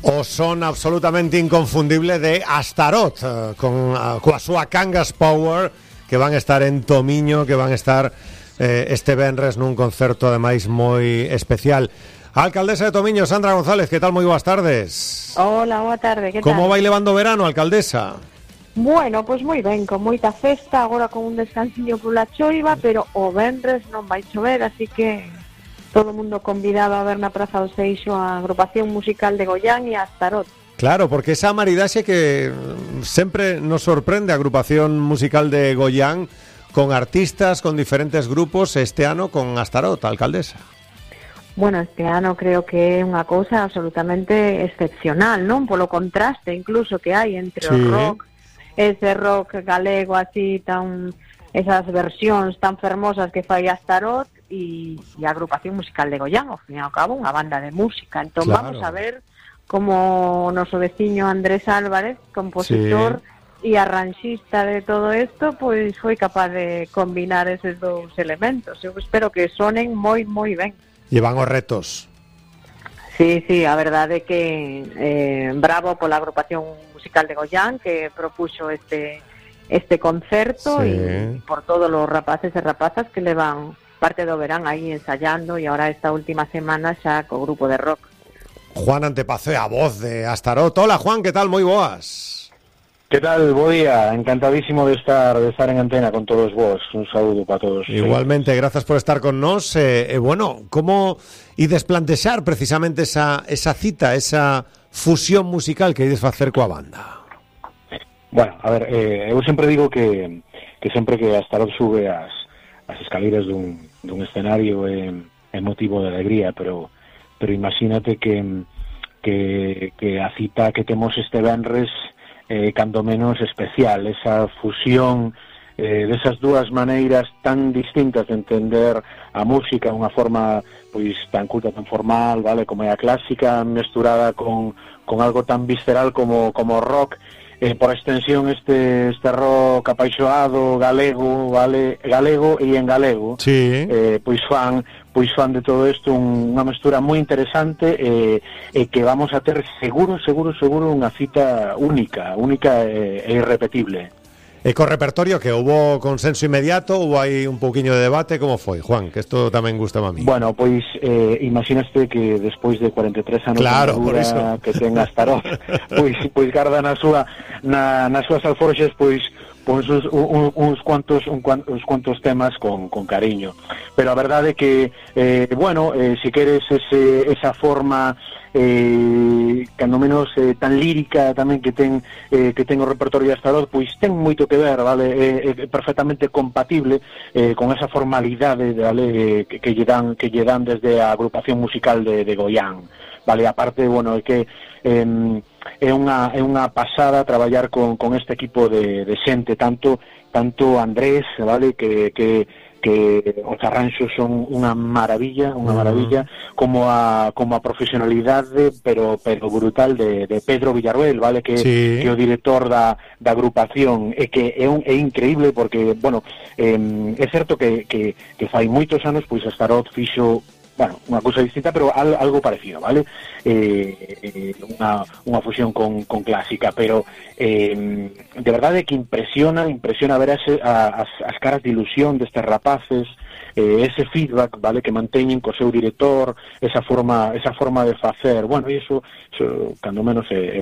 O son absolutamente inconfundible de Astaroth, con a súa Cangas Power, que van a estar en Tomiño, que van a estar este venres nun concerto ademais moi especial. A alcaldesa de Tomiño, Sandra González, que tal? Moi boas tardes. Hola, boa tarde, que tal? Como vai levando o verano, alcaldesa? Bueno, pois moi ben, con moita festa, agora con un descansiño pola choiva, pero o venres non vai chover, así que todo o mundo convidado a ver na Praza do Seixo a agrupación musical de Goián e a Astaroth. Claro, porque esa maridaxe que sempre nos sorprende, a agrupación musical de Goián, con artistas, con diferentes grupos, este ano con Astaroth, alcaldesa. Bueno, este ano creo que é unha cousa absolutamente excepcional, non? Polo contraste incluso que hai entre o rock, ese rock galego así tan, esas versións tan fermosas que fai Astaroth e a agrupación musical de Goián, ao fin e ao cabo, unha banda de música. Entón vamos a ver como o noso veciño Andrés Álvarez, compositor e arranxista de todo isto, pois foi capaz de combinar eses dous elementos. Eu espero que sonen moi, moi ben. Llevan os retos. Sí, a verdade é que bravo pola agrupación musical de Goián que propuxo este concerto e por todos os rapaces e rapazas que levan parte do verán aí ensayando e agora esta última semana xa co grupo de rock. Juan Antepazo é a voz de Astaroth. Hola, Juan, que tal? Moi boas. Que tal? Bo día, encantadísimo de estar en antena con todos vos. Un saúdo para todos. Igualmente, gracias por estar con nos. Bueno, como desplantear precisamente esa cita, esa fusión musical que ides facer coa banda? Bueno, a ver, eu sempre digo que sempre que Astaroth sube as escaleras dun escenario é motivo de alegría, pero imagínate que a cita que temos este venres cando menos especial, esa fusión desas dúas maneiras tan distintas de entender a música, unha forma pois tan culta, tan formal, vale, como é a clásica, mesturada con algo tan visceral como o rock, por extensión este rock apaixoado galego, vale, galego e en galego. Sí. Pois fan de todo isto unha mestura moi interesante e que vamos a ter seguro unha cita única e irrepetible. E co repertorio que hubo consenso inmediato, hubo aí un pouquiño de debate, como foi, Juan? Que isto tamén gusta a mí. Bueno, pois imaginaste que despois de 43 anos claro, de dura que ten Astaroth, pois garda nas súas alforxes pois uns cuantos temas con cariño, pero a verdade é que si queres esa forma cando menos tan lírica tamén que ten o repertorio de Astaroth, pois ten moito que ver, vale, é perfectamente compatible con esa formalidade, vale, que lle dan desde a agrupación musical de Goián, vale, aparte, bueno, é que é unha pasada traballar con este equipo de xente, tanto Andrés, vale, que os arranxos son unha maravilla, como a profesionalidade pero brutal de Pedro Villarroel, vale, que é o director da agrupación, e que é increíble porque, bueno, é certo que fai moitos anos pois Astaroth fixo unha cousa distinta, pero algo parecido, vale? Unha fusión con clásica, pero de verdade que impresiona ver as caras de ilusión destes rapaces, ese feedback, vale, que manteñen co seu director, esa forma de facer, bueno, e iso cando menos é